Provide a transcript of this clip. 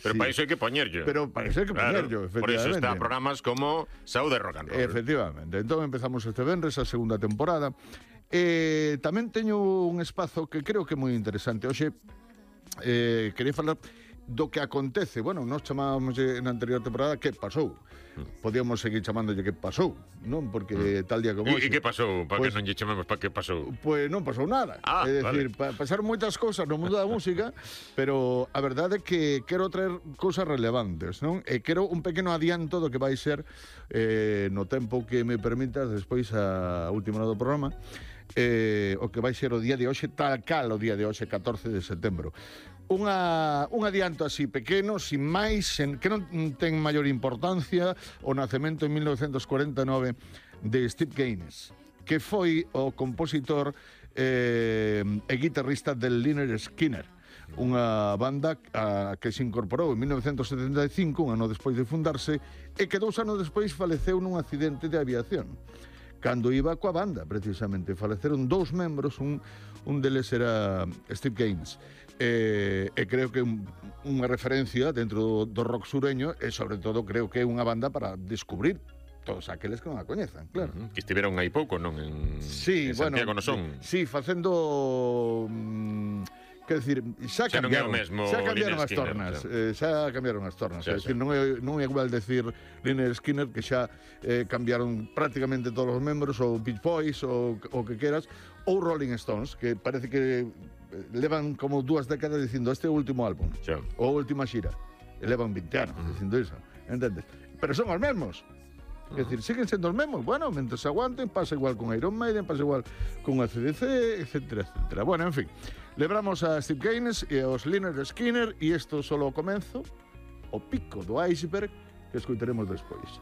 Pero para iso hai que poñerllo. Pero para iso hai que poñerllo, efectivamente. Por iso está programas como Saúde Rock and Roll. Efectivamente. Entón empezamos este venres a segunda temporada. Tamén teño un espazo que creo que é moi interesante. Hoxe, quería falar do que acontece. Bueno, nós chamábamos na anterior temporada que pasou. Podíamos seguir chamándolle que pasou, non? Porque tal día como hoxe. E que pasou? Para que non lle chamamos para que pasou? Pois non pasou nada. É dicir, pasaron moitas cousas no mundo da música, pero a verdade é que quero traer cousas relevantes, non? E quero un pequeno adianto do que vai ser no tempo que me permitas despois a última hora do programa. O que vai ser o día de hoxe, tal cal o día de hoxe, 14 de setembro. Un adianto así pequeno, sin máis, que non ten maior importancia, o nacemento en 1949 de Steve Gaines, que foi o compositor e guitarrista del Lynyrd Skynyrd, unha banda que se incorporou en 1975, un ano despois de fundarse, e que 2 anos despois faleceu nun accidente de aviación. Cando iba coa banda, precisamente, faleceron 2 membros, un deles era Steve Gaines. E creo que unha referencia dentro do rock sureño e, sobre todo, creo que é unha banda para descubrir todos aqueles que non a coñezan, claro. Que estiveron aí pouco, non? En Santiago non son. Sí, facendo... Quer decir, xa cambiaron as tornas. Xa cambiaron as tornas. É dicir, non é igual decir Lynyrd Skynyrd, que xa cambiaron prácticamente todos os membros, ou Beach Boys, ou o que queras, ou Rolling Stones, que parece que levan como 2 décadas dicindo este é o último álbum, ou a última xira. E levan 20 anos dicindo iso, entendes? Pero son os mesmos. É dicir, siguen sendo os mesmos. Bueno, mentre se aguanten, pasa igual con Iron Maiden, pasa igual con AC/DC, etcétera, etcétera. Bueno, en fin, lembramos a Steve Gaines e aos Lynyrd Skynyrd, e isto solo o comenzo, o pico do iceberg, que escoitaremos despois.